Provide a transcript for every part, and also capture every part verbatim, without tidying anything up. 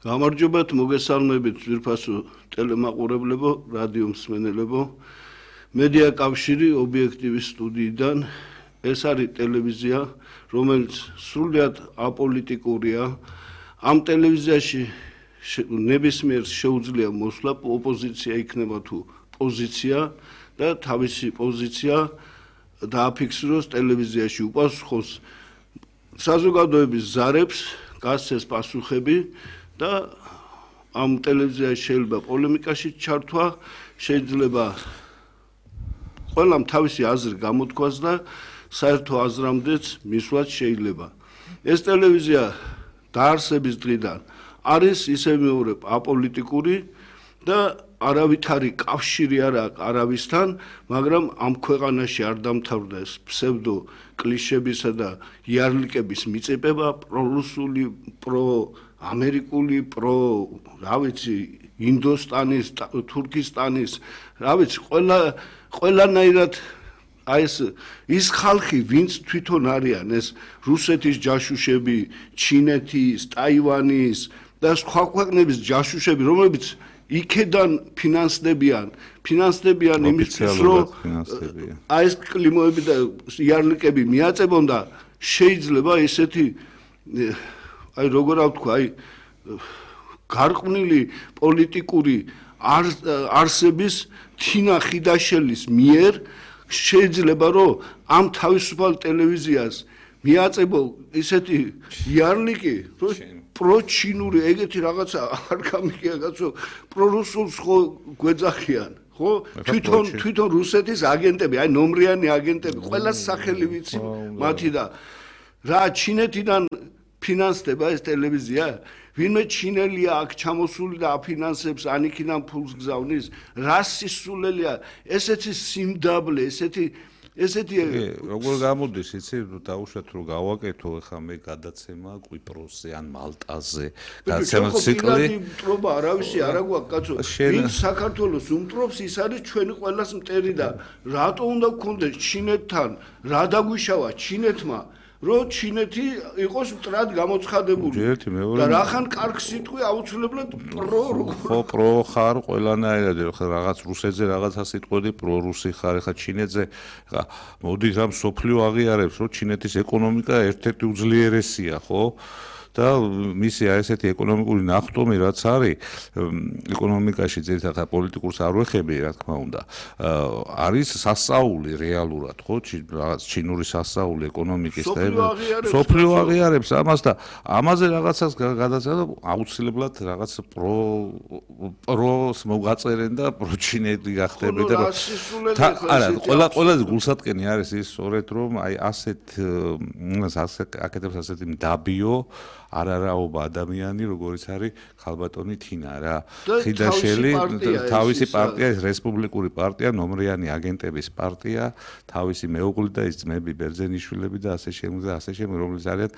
გამარჯობათ, მოგესალმებით ძვირფასო ტელემაყურებლებო, რადიო მსმენელებო. მედია კავშირი ობიექტივის სტუდიიდან. ეს არის ტელევიზია, რომელიც სრულიად აპოლიტიკურია. ამ ტელევიზიაში ნებისმიერ შეუძლია მოსვლა, ოპოზიცია იქნება თუ პოზიცია და თავისი პოზიცია დააფიქსიროს ტელევიზიაში, უპასუხოს საზოგადოების ზარებს, გასცეს პასუხები და ამ ტელევიზიაში შეიძლება პოლემიკაში ჩართვა, შეიძლება ყველამ თავისი აზრი გამოთქვას და საერთო აზრამდეც მისვლაც შეიძლება. ეს ტელევიზია დაარსების დღიდან არის ისე მეორე აპოლიტიკური და არავითარი კავშირი არ აქვს არავისთან, მაგრამ ამ ქვეყანაში არ დამთავრდა ეს ფსევდო კლიშებისა და იარლიკების მიწებება, პრორუსული, პროამერიკული, პრო, რა ვიცი, ინდოსტანის, თურქისტანის, რა ვიცი, ყველა ყველანაირად აი ეს ის ხალხი, ვინც თვითონ არიან ეს რუსეთის ჯაშუშები, ჩინეთის, ტაივანის და სხვა ქვეყნების ჯაშუშები, რომლებიც იქედან ფინანსდებიან, ფინანსდებიან იმისთვის, რომ აი ეს კლიმოები და იარლიკები მიაწებონ და შეიძლება ესეთი აი როგორ ვთქვა, აი გარყვნილი პოლიტიკური არსების თინა ხიდაშელის მიერ შეიძლება რომ ამ თავისუფალ ტელევიზიას მიაწებო ისეთი იარლიკი, რომ პროჩინური ეგეთი რაღაცა არ გამიგია კაცო, პრორუსულს ხო გვეძახიან, ხო? თვითონ თვითონ რუსეთის აგენტები, აი ნომრიანი აგენტები, ყველა სახელი ვიცი მათი და რა ჩინეთიდან ფინანსდება ეს ტელევიზია? ვინმე ჩინელია აქ ჩამოსული და აფინანსებს, ანიქიდან ფულს გზავნის, რა სისულელია, ესეთი სიმდაბლე, ესეთი ესეთი როგორ გამოდის, იცი, დაუშვათ რომ გავაკეთო ახლა მე გადაცემა კვიპროსზე ან მალტაზე, გადაცემა ციკლი. მტრობა არავისი არა გვაქვს კაცო. ვინ საქართველოს უმტრობს, ის არის ჩვენი ყველას მტერი და რატო უნდა გქონდეს ჩინეთთან, რა დაგვიშავა ჩინეთმა? რომ ჩინეთი იყოს მტრად გამოცხადებული და რახან კარგ სიტყვი აუცილებლად პრო ხო პრო ხარ ყველანაირად რაღაც რუსეთზე რაღაცა სიტყვები პრო რუსი ხარ ხა ჩინეთზე ხა მოდი რამ სოფლიო აღიარებს რომ ჩინეთის ეკონომიკა ერთ-ერთი უძლიერესია ხო და მისი აი ესეთი ეკონომიკური ნახტომი რაც არის ეკონომიკაში ძირითადად პოლიტიკურს არ ვეხები რა თქმა უნდა არის სასწაული რეალურად ხო რაღაც ჩინური სასწაული ეკონომიკის და სოფლიო აღიარებს ამას და ამაზე რაღაცას გადაცემა აუცილებლად რაღაც პრო პროს მოგაწერენ და პროჩინეთი გახდები და არა ყველა ყველაზე გულსატკენი არის ის სწორედ რომ აი ასეთ აკეთებს ასეთი მდაბიო არარაობა ადამიანი, როგორიც არის ხალბატონი თინა რა. ხიდაშელი თავისი პარტია, ეს რესპუბლიკური პარტია, ნომრიანი აგენტების პარტია, თავისი მეუღლე და ის ძმები ბერძენიშვილები და ასე შემდეგ და ასე შემდეგ, რომლებიც არიან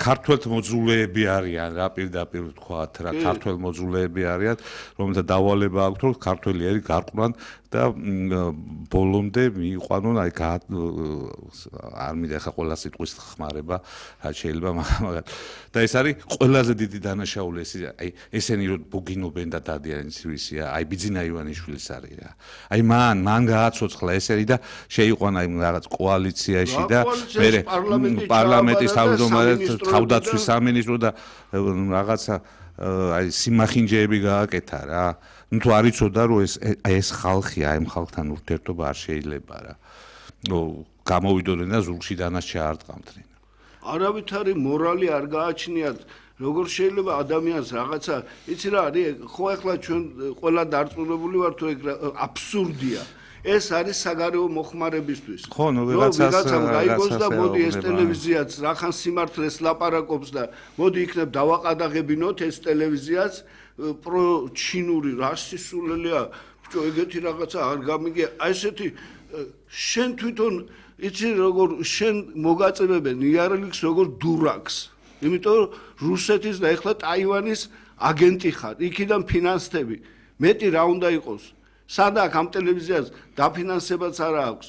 ქართველ მოძულეები არიან რა პირდაპირ ვთქვათ რა ქართველ მოძულეები არიან რომელთა დავალება აქვს რომ ქართველიერი გარყვნან და ბოლომდე მიიყვანონ აი არ მინდა ხა ყველა სიტყვის ხმარება რა შეიძლება მაგრამ და ეს არის ყველაზე დიდი დანაშაული ეს აი ესენი რომ ბუგინობენ და დადიან ისვისია აი ბიძინა ივანიშვილის არის რა აი მან მან გააცოცხლა ესენი და შეიყვანა აი რაღაც კოალიციაში და მე პარლამენტის თავმჯდომარედ თავდაცვის სამინისტრო და რაღაცა აი სიმახინჯეები გააკეთა რა. ნუ თუ არ იცოდა რომ ეს ეს ხალხია, აი ხალხთან ურთიერთობა არ შეიძლება რა. ნუ გამოვიდოდნენ და ზურგში დანაშა არ ტყამდნენ. არავითარი მორალი არ გააჩნიათ. როგორ შეიძლება ადამიანს რაღაცა, იცი რა არის, ხო ახლა ჩვენ ყველა დარწმუნებული ვართ თუ ეგ აბსურდია. ეს არის საგარეო მოხმარებისთვის. ხო, ნუ ვიღაცამ გაიგოს და მოდი ეს ტელევიზიაც რახან სიმართლეს ლაპარაკობს და მოდი იქნებ დავაყადაღებინოთ ეს ტელევიზიაც პრო ჩინური რასისულელია, ბჭო ეგეთი რაღაცა არ გამიგია. აი ესეთი შენ თვითონ იცი როგორ შენ მოგაწებებენ იარლიკს როგორ დურაკს. იმიტომ რუსეთის და ეხლა ტაივანის აგენტი ხარ. იქიდან ფინანსები. მეტი რა უნდა იყოს? სადა ამ ტელევიზიას დაფინანსებაც არა აქვს.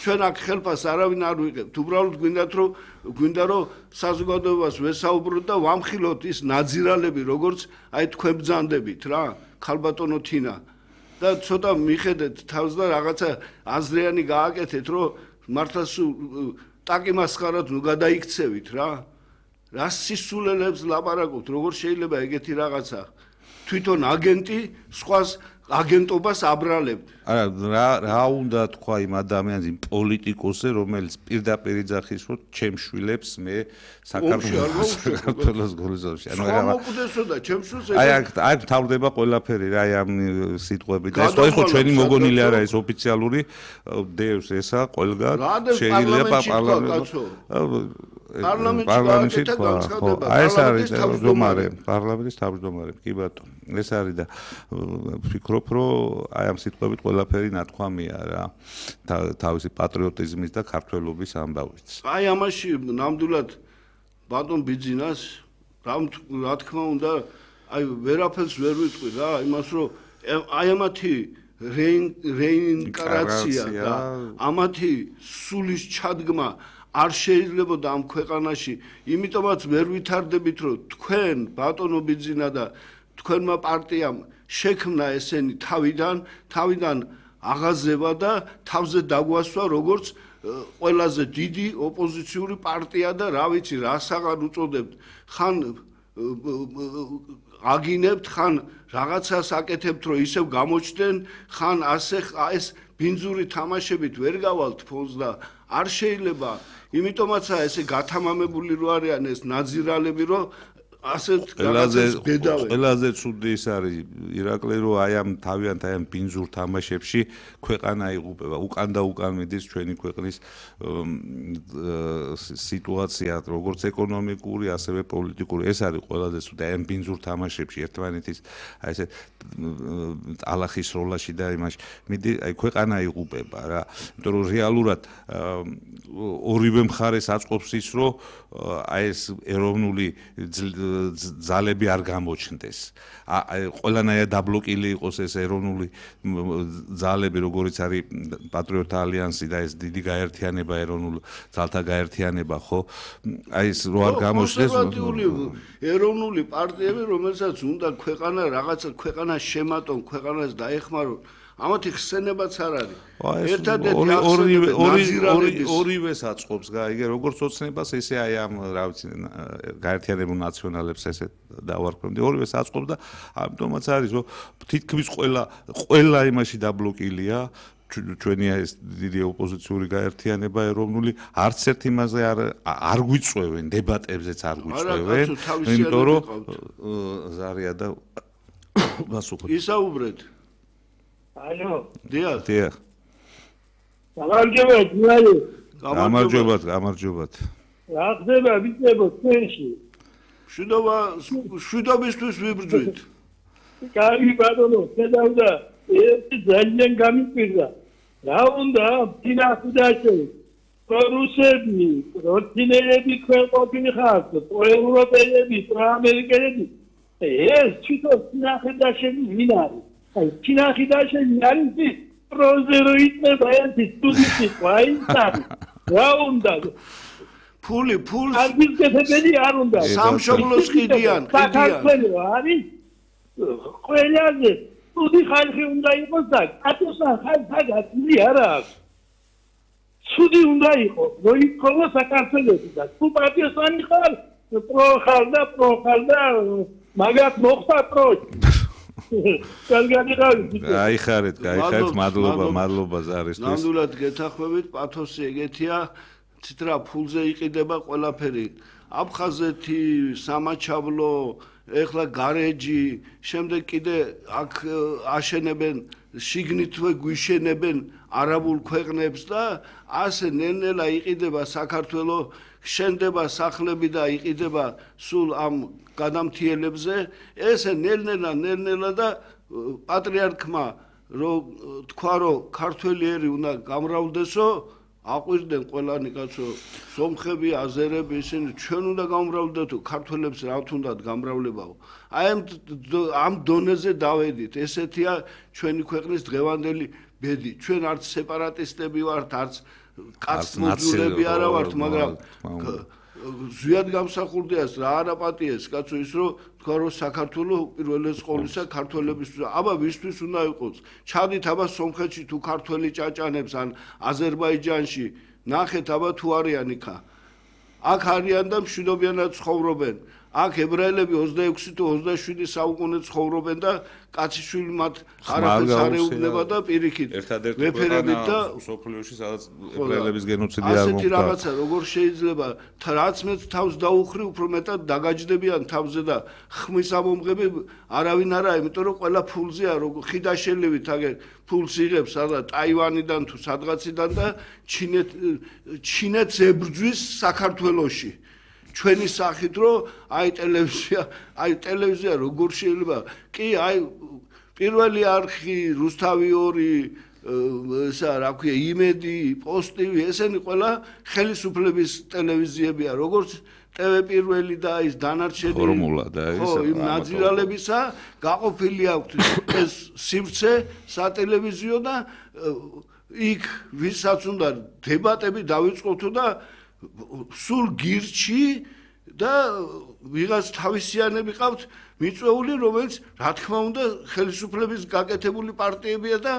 ჩვენ აქ ხელფას არავინ არ ვიღებთ. უბრალოდ გვინდათ რომ გვინდა რომ საზოგადოებას ვესაუბროთ და ვამხილოთ ის ნაძირალები, როგორც აი თქვენ ბრძანდებით რა, ქალბატონო თინა. და ცოტა მიხედეთ თავს და რაღაცა აზრიანი გააკეთეთ, რომ მართლა ტაკი მასხარად ნუ გადაიქცევით რა. რა სისულელებს ლაპარაკობთ, როგორ შეიძლება ეგეთი რაღაცა? თვითონ აგენტი სხვას აგენტობას აბრალებთ. არა, რა რა უნდა თქვა იმ ადამიანს, იმ პოლიტიკოსზე, რომელიც პირდაპირ იძახის, რომ ჩემ შვილებს მე საქართველოს საქართველოს გულზავში. ანუ რა მოკვდესო და ჩემ შვილს აი აქ აი თავდება ყველაფერი რა აი ამ სიტყვებით. ეს ხო ჩვენი მოგონილი არა ეს ოფიციალური დევს ესა ყველგან შეიძლება პარლამენტში პარლამენტში თქვა. აი ეს არის თავმჯდომარე, პარლამენტის თავმჯდომარე, კი ბატონო. ეს არის და ვფიქრობ, რომ აი ამ სიტყვებით ყველაფერი ნათქვამია რა. თავისი პატრიოტიზმის და ქართველობის ამბავით. აი ამაში ნამდვილად ბატონ ბიძინას რა თქმა უნდა აი ვერაფერს ვერ ვიტყვი რა, იმას რომ აი ამათი რეინკარნაცია და ამათი სულის ჩადგმა არ შეიძლებოდა ამ ქვეყანაში, იმიტომაც ვერ ვითარდებით, რომ თქვენ ბატონო ბიძინა და თქვენმა პარტიამ შექმნა ესენი თავიდან, თავიდან აღაზევა და თავზე დაგვასვა, როგორც ყველაზე დიდი ოპოზიციური პარტია და რა ვიცი, რასაღარ უწოდებთ, ხან აგინებთ, ხან რაღაცას აკეთებთ, რომ ისევ გამოჩნდნენ, ხან ასე ეს ბინძური თამაშებით ვერ გავალთ ფონს და არ შეიძლება, იმიტომაცაა ესე გათამამებული რო არიან ეს ნაძირალები, რომ ასეთ რაღაცას ბედავენ. ყველაზე ცუდი ის არის ირაკლი, რომ აი ამ თავიანთ აი ამ ბინძურ თამაშებში ქვეყანა იღუპება. უკან და უკან მიდის ჩვენი ქვეყნის სიტუაცია, როგორც ეკონომიკური, ასევე პოლიტიკური. ეს არის ყველაზე ცუდი აი ამ ბინძურ თამაშებში ერთმანეთის აი ესე ალახის როლაში და იმაში. მიდი აი ქვეყანა იღუპება რა. იმიტომ რომ რეალურად ორივე მხარეს აწყობს ის, რომ აი ეს ეროვნული ძალები არ გამოჩნდეს. ყველანაირად დაბლოკილი იყოს ეს ეროვნული ძალები, როგორიც არის პატრიოტთა ალიანსი და ეს დიდი გაერთიანება, ეროვნული ძალთა გაერთიანება, ხო? აი ეს რო არ გამოჩნდეს ეროვნული პარტიები, რომელსაც უნდა ქვეყანა რაღაცა ქვეყანა შემატონ, ქვეყანას დაეხმარონ. ამათი ხსენებაც არ არის. ერთადერთი ორივე ორივეს აწყობს, გაიგე, როგორც ოცნებას, ესე აი ამ რა ვიცი, გაერთიანებულ ნაციონალებს ესე დავარქვემდი. ორივეს აწყობს და ამიტომაც არის, რომ თითქმის ყველა ყველა იმაში დაბლოკილია. ჩვენი ეს დიდი ოპოზიციური გაერთიანება ეროვნული არც ერთ იმაზე არ არ გვიწევენ, დებატებზეც არ გვიწევენ, იმიტომ რომ ზარია და გასუხოთ. ისაუბრეთ. ალო. დიახ. დიახ. გამარჯობათ, მალე. გამარჯობათ, გამარჯობათ. რა ხდება ვიცებო თქვენში? შვიდობა, შვიდობისთვის ვიბრძვით. კარგი ბატონო, შედავდა, ეს ძალიან გამიკვირდა. რა უნდა ფინანსდაში? რუსები, რუსინელები ქვეყნები ხართ, ევროპელები, ამერიკელები. ეს თვითონ ფინანსდაში ვინ არის? აი ფინანსდაში არის ის პროზეროიდნება ერთი სტუდენტი ყაინსა. რა უნდა? ფული, ფულს არგიზეთები არ უნდა. სამშობლოს ყიდიან, ყიდიან. საქართველო არის ყველაზე ცუდი ხალხი უნდა იყოს და კატოსა ხალხი არ აქვს. ცუდი უნდა იყოს, რომ იქნება საქართველოში და თუ პარტიასანი ხარ, პრო ხარ და პრო ხარ და მაგათ მოხდა პრო. აი ხარეთ, აი ხარეთ, მადლობა, მადლობა ზარისთვის. ნამდვილად გეთახვევით, პათოსი ეგეთია, ცითრა ფულზე იყიდება ყველაფერი. აფხაზეთი, სამაჩაბლო, ეხლა გარეჯი, შემდეგ კიდე აქ აშენებენ, შიგნითვე გვიშენებენ არაბულ ქვეყნებს და ასე ნელ-ნელა იყიდება საქართველო, შენდება სახლები და იყიდება სულ ამ გადამთიელებზე. ესე ნელ-ნელა, ნელ-ნელა და პატრიარქმა რო თქვა, რომ ქართველი ერი უნდა გამრავლდესო, აყვირდნენ ყველანი კაცო, სომხები, აზერები, ისინი ჩვენ უნდა გამრავლდეთო, ქართველებს რა თუნდაც გამრავლებაო. აი ამ დონეზე დავედით, ესეთია ჩვენი ქვეყნის დღევანდელი ბედი. ჩვენ არც სეპარატისტები ვართ, არც კაც მოძულები არა ვართ, მაგრამ ზვიად გამსახურდიას რა არაპატიეს კაცო ის რომ თქვა რომ საქართველოს პირველი სკოლისა ქართველებისთვის აბა ვისთვის უნდა იყოს ჩადით აბა სომხეთში თუ ქართველი ჭაჭანებს ან აზერბაიჯანში ნახეთ აბა თუ არიან იქა აქ არიან და მშვიდობიანად ცხოვრობენ აქ ებრაელები ოცდაექვსი თუ ოცდაშვიდი საუკუნე ცხოვრობენ და კაციშვილი მათ არაფერს არ ეუბნება და პირიქით ვეფერებით და სოფლიოში სადაც ებრაელების გენოციდი არ მოხდა ასეთი რაღაცა როგორ შეიძლება რაც მეც თავს დაუხრი უფრო მეტად დაგაჯდებიან თავზე და ხმის ამომღები არავინ არა იმიტომ რომ ყველა ფულზეა როგორ ხიდაშელივით აგერ ფულს იღებს სადა ტაივანიდან თუ სადღაციდან და ჩინეთ ჩინეთს ებრძვის საქართველოში ჩვენი სახით რომ აი ტელევიზია აი ტელევიზია როგორ შეიძლება კი აი პირველი არხი რუსთავი ორი ესა რა ქვია იმედი პოსტივი ესენი ყველა ხელისუფლების ტელევიზიებია როგორც ტევ პირველი და ის დანარჩენი ფორმულა და ის ხო იმ ნაძრალებისა გაყოფილი აქვს ეს სივრცე სატელევიზიო და იქ ვისაც უნდა დებატები დავიწყოთ და სულ გირჩი და ვიღაც თავისიანები ყავთ მიწვეული რომელიც რა თქმა უნდა ხელისუფლების გაკეთებული პარტიებია და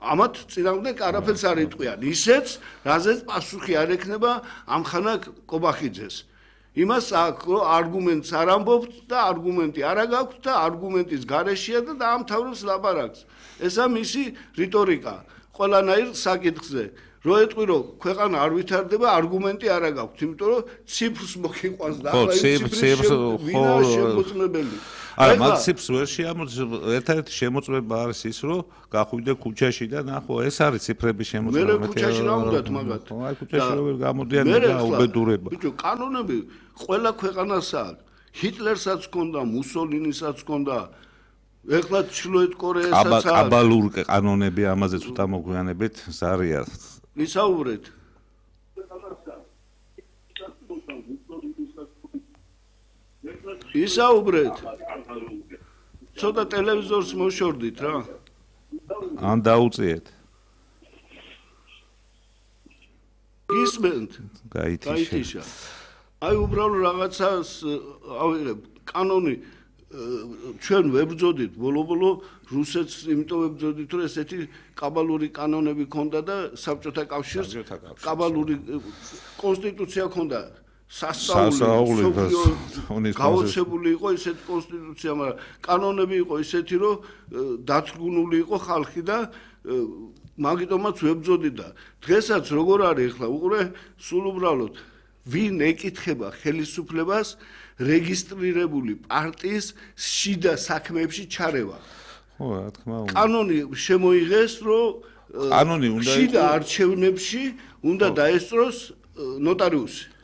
ამათ წინააღმდეგ არაფერს არ იტყვიან ისეც რაზეც პასუხი არ ექნება ამხანა კობახიძეს იმას აქვს რომ არგუმენტს არ ამბობთ და არგუმენტი არ გაქვთ და არგუმენტის გარეშეა და დაამთავრებს ლაპარაკს ესა მისი რიტორიკა ყველანაირ საკითხზე რო ეტყვი რომ ქვეყანა არ ვითარდება არგუმენტი არ გაქვთ იმიტომ რომ ციფრს მოგიყვანს და ახლა იმ ციფრს ვინა შემოწმებელი არა მაგ ციფრს ვერ შეამოწმებს ერთ-ერთი შემოწმება არის ის რომ გახვიდე ქუჩაში და ნახო ეს არის ციფრების შემოწმება მე ქუჩაში რა უნდათ მაგათ აი ქუჩაში როგორ გამოდიან და უბედურება ბიჭო კანონები ყველა ქვეყანას აქვს ჰიტლერსაც ჰქონდა მუსოლინისაც ჰქონდა ეხლა ჩრდილოეთ კორეასაც აქვს კაბალურ კანონები ამაზე ცოტა მოგვიანებით ზარია ისაუბრეთ ისაუბრეთ ცოტა ტელევიზორს მოშორდით რა ან დაუწიეთ გისმენთ გაითიშა აი უბრალოდ რაღაცას ავიღებ კანონი ჩვენ ვებრძოდით ბოლო-ბოლო რუსეთს იმიტომ ვებრძოდით რომ ესეთი კაბალური კანონები ქონდა და საბჭოთა კავშირს კაბალური კონსტიტუცია ქონდა სასწაული გაოცებული იყო ესეთი კონსტიტუცია მაგრამ კანონები იყო ესეთი რომ დათრგუნული იყო ხალხი და მაგიტომაც ვებრძოდით და დღესაც როგორ არის ახლა უყურე სულ უბრალოდ ვინ ეკითხება ხელისუფლებას რეგისტრირებული პარტიის შიდა საქმეებში ჩარევა. ხო, რა თქმა უნდა. კანონი შემოიღეს, რომ კანონი უნდა შიდა არჩევნებში უნდა დაესწროს ნოტარიუსი.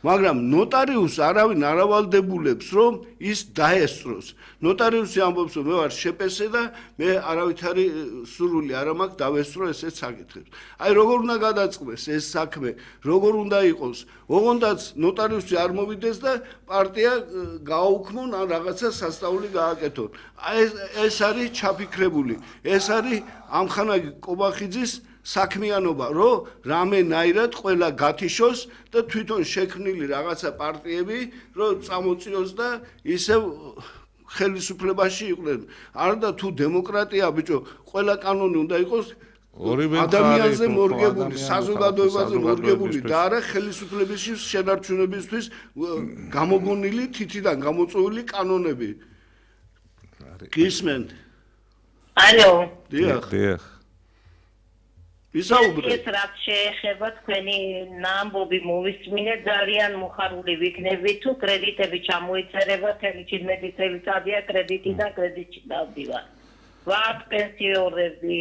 მაგრამ ნოტარიუსს არავინ არ ავალდებულებს, რომ ის დაესწროს. ნოტარიუსი ამბობს, რომ მე ვარ შეპესე და მე არავითარი სურვილი არ მაქვს დავესწრო ესეთ საკითხებს. აი როგორ უნდა გადაწყდეს ეს საქმე, როგორ უნდა იყოს. ოღონდაც ნოტარიუსი არ მოვიდეს და პარტია გააუქმონ ან რაღაცა სასწაული გააკეთონ. აი ეს არის ჩაფიქრებული. ეს არის ამხანაგი კობახიძის საქმიანობა, რომ რამენაირად ყველა გათიშოს და თვითონ შექმნილი რაღაცა პარტიები, რომ წამოწიოს და ისევ ხელისუფლებაში იყვნენ. არა და თუ დემოკრატია, ბიჭო, ყველა კანონი უნდა იყოს ადამიანზე მორგებული, საზოგადოებაზე მორგებული და არა ხელისუფლების შენარჩუნებისთვის გამოგონილი თითიდან გამოწვეული კანონები. გისმენთ? ალო. დიახ. დიახ. ისაუბრეთ. ეს რაც შეეხება თქვენი ნამბობი მოვისმინე ძალიან მოხარული ვიქნები თუ კრედიტები ჩამოიწერება თელი ჩინეთის წელიწადია კრედიტიდან კრედიტში დავდივარ. ვართ პენსიორები,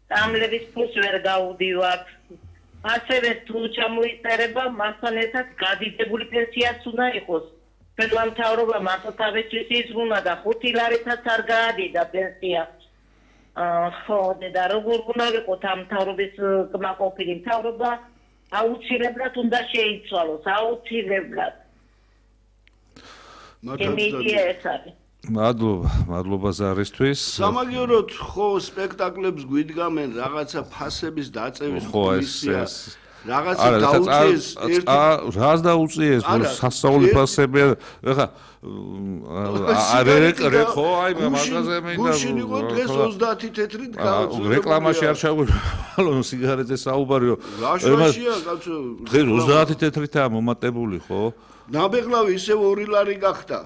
სამლების ფულს ვერ გავუდივართ. ასევე თუ ჩამოიწერება მასთან ერთად გადიდებული პენსიაც უნდა იყოს. თქვენმა მთავრობამ ასოთავისთვის იზრუნა და ხუთი ლარითაც არ გაადიდა პენსია. ხო, და როგორ უნდა ვიყოთ ამ მთავრობის კმაყოფილი მთავრობა აუცილებლად უნდა შეიცვალოს, აუცილებლად. მათაც მადლობა, მადლობა ზარისთვის. სამაგიეროდ ხო სპექტაკლებს გვიდგამენ რაღაცა ფასების დაწევის კომისია. რაღაცა დაუწიეს ერთი რას დაუწიეს სასწაული ფასები ეხა არა ხო აი მაგაზე მინდა გუშინ იყო დღეს ოცდაათი თეთრით გაუწია რეკლამაში არ ჩაგვივალო სიგარეტზე საუბარიო რაშაშია კაცო დღეს ოცდაათი თეთრითაა მომატებული ხო ნაბეღლავი ისევ ორი ლარი გახდა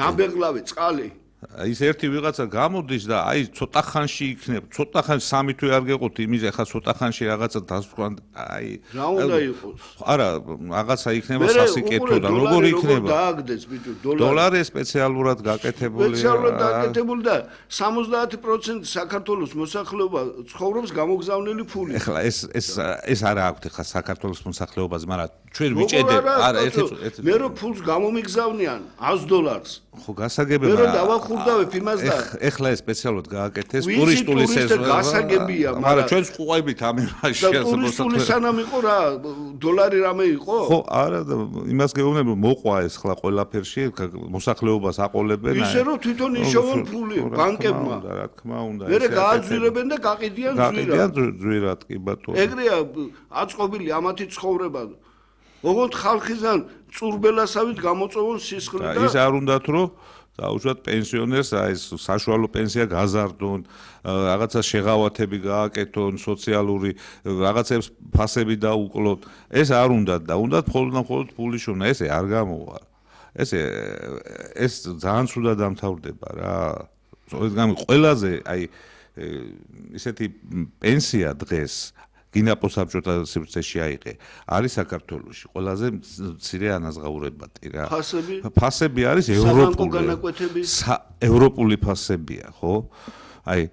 ნაბეღლავი წყალი ის ერთი ვიღაცა გამოდის და აი ცოტა ხანში იქნება, ცოტა ხანში სამი თვე არ გეყოთ იმის, ახლა ცოტა ხანში რაღაცა დასვან, აი რა უნდა იყოს? არა, რაღაცა იქნება სასიკეთო და როგორ იქნება? დააგდეს ბიჭო, დოლარი. დოლარი სპეციალურად გაკეთებულია. სპეციალურად გაკეთებული და სამოცდაათი პროცენტი საქართველოს მოსახლეობა ცხოვრობს გამოგზავნილი ფულით. ახლა ეს ეს ეს არა აქვთ ახლა საქართველოს მოსახლეობას, მაგრამ ჩვენ ვიჭედებ, არა, ერთი მე რო ფულს გამომიგზავნიან ას დოლარს. ხო, გასაგებია, მე რო დავახურდავებ იმას და ეხლა ეს სპეციალურად გააკეთეს ტურისტული სეზონი გასაგებია, მაგრამ ჩვენ ვყუებით ამ იმაში და ტურისტული სანამ იყო რა დოლარი რამე იყო? ხო, არა და იმას გეუბნები მოყვა ეს ხლა ყველაფერში მოსახლეობას აყოლებენ აი ისე რომ თვითონ იშოვონ ფული ბანკებმა რა თქმა უნდა მე გააძვირებენ და გაყიდიან ძვირად გაყიდიან ძვირად კი ბატონო ეგრეა აწყობილი ამათი ცხოვრება ოღონდ ხალხიდან წურბელასავით გამოწოვონ სისხლი და ის არ უნდათ რომ დაუშვათ პენსიონერს აი ეს საშუალო პენსია გაზარდონ რაღაცა შეღავათები გააკეთონ სოციალური რაღაცებს ფასები დაუკლოთ ეს არ უნდათ და უნდათ მხოლოდ და მხოლოდ ფული შოვნა ესე არ გამოვა ესე ეს ძალიან ცუდად დამთავრდება რა სწორედ ყველაზე აი ისეთი პენსია დღეს გინაპო საბჭოთა სივრცეში აიღე არის საქართველოში ყველაზე მცირე ანაზღაურებადი რა ფასები ფასები არის ევროპული ევროპული ფასებია ხო აი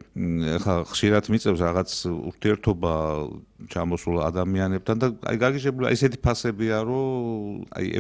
ხა ხშირად მიწევს რაღაც ურთიერთობა ჩამოსულ ადამიანებთან და აი გაგიჟებული ესეთი ფასებია რომ აი